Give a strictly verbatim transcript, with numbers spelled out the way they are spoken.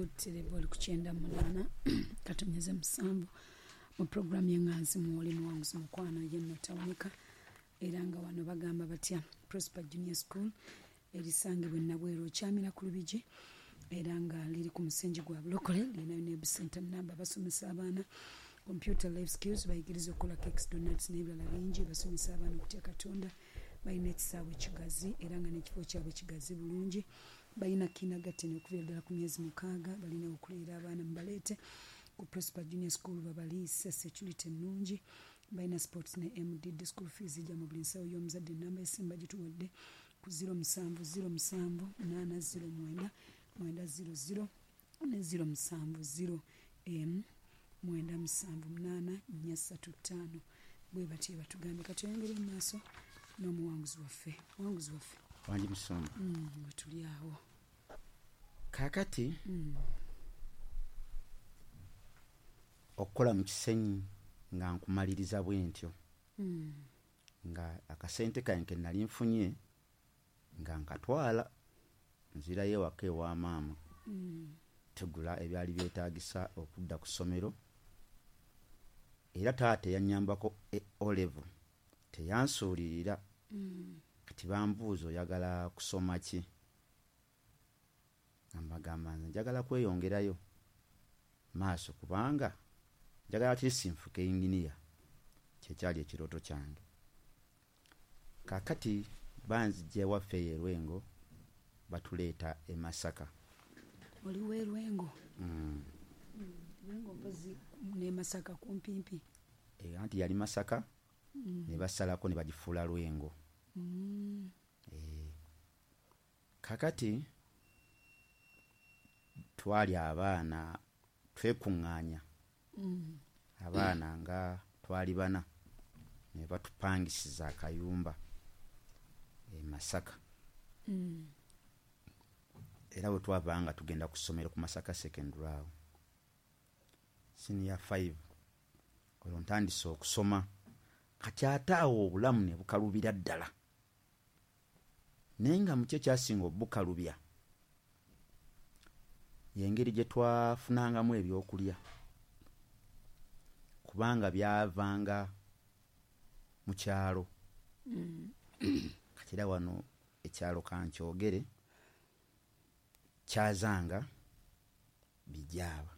Butereevu oli ku kyenda munaana katonyeze musanvu mu puroguramu y'eŋŋanzi mwoli muwanguzi mukwano yenno tawunika. Era nga wano bagamba batya Prosper Junior School erisangibwa e Nabweru okyamira ku Lubigi, era nga liri ku musingi gwa Bulokole, lirinayo ne center namba. Basomesa abaana computer, life skills, bayigiriza okukola cakes, donuts n'ebirala bingi. Basomesa abaana okutya Katonda. Balina ekisaawe kigazi era nga n'ekifo kyabwe kigazi bulungi. Balina kindergarten okuviira ddala ku myezi mukaaga. Balina okuleera abaana, mubaleete ku Prosper Junior School babaliise, security ennungi. Balina sports ne M D D. School fees ijja mu buli nsawo y'omuzadde. Enamba esimba gituwadde ku zero musanvu zero musanvu munaana zero mwenda mwenda zero zero ne zero musanvu zero emu mwenda musanvu munaana nnya ssatu ttaano. Bwe batyo batugambye. Kati oyongere mu maaso n'omuwanguzi waffe, muwanguzi waffe. Wangi musumba. Mm, we tuli awo. Kaakati Mm. okukola mu Kisenyi nga nkumaliriza bwe ntyo, Mm. nga akasente kange ke nali nfunye nga nkatwala, nzirayo ewaka ewa maama, Mm. tugula ebyali byetaagisa okudda ku ssomero. Era taata eyannyambako e O level teyansuulirira. Mm. Kati bambuuza, "Oyagala kusoma ki?" Nga mbagamba, "Nze njagala kweyongerayo maaso kubanga njagala at least nfuuke yinginiya." Kyekyali ekirooto kyange. Kaakati banzijja ewaffe eyo e Lwengo, batuleeta e Masaka. Oli w'e Lwengo? Mm. Lwengo mpozi ne Masaka kumpimpi. E, anti yali Masaka, Mm. ne basalako ne bagifuula Lwengo. Mm. E, kakati twali abaana twekuŋŋaanya, Mm. abaana nga twali bana, ne batupangisiza akayumba e Masaka. Mm. Era bwe twavanga nga tugenda ku ssomero ku Masaka Secondary awo senior five, olwo ntandise okusoma. Kati ate awo obulamu ne bukalubira ddala, naye nga muki ekyasinga obukalubya y'engeri gye twafunangamu ebyokulya, kubanga byavanga mu kyalo. Mm. Kati era wano ekyalo kankyogere, kyazanga Bijaaba.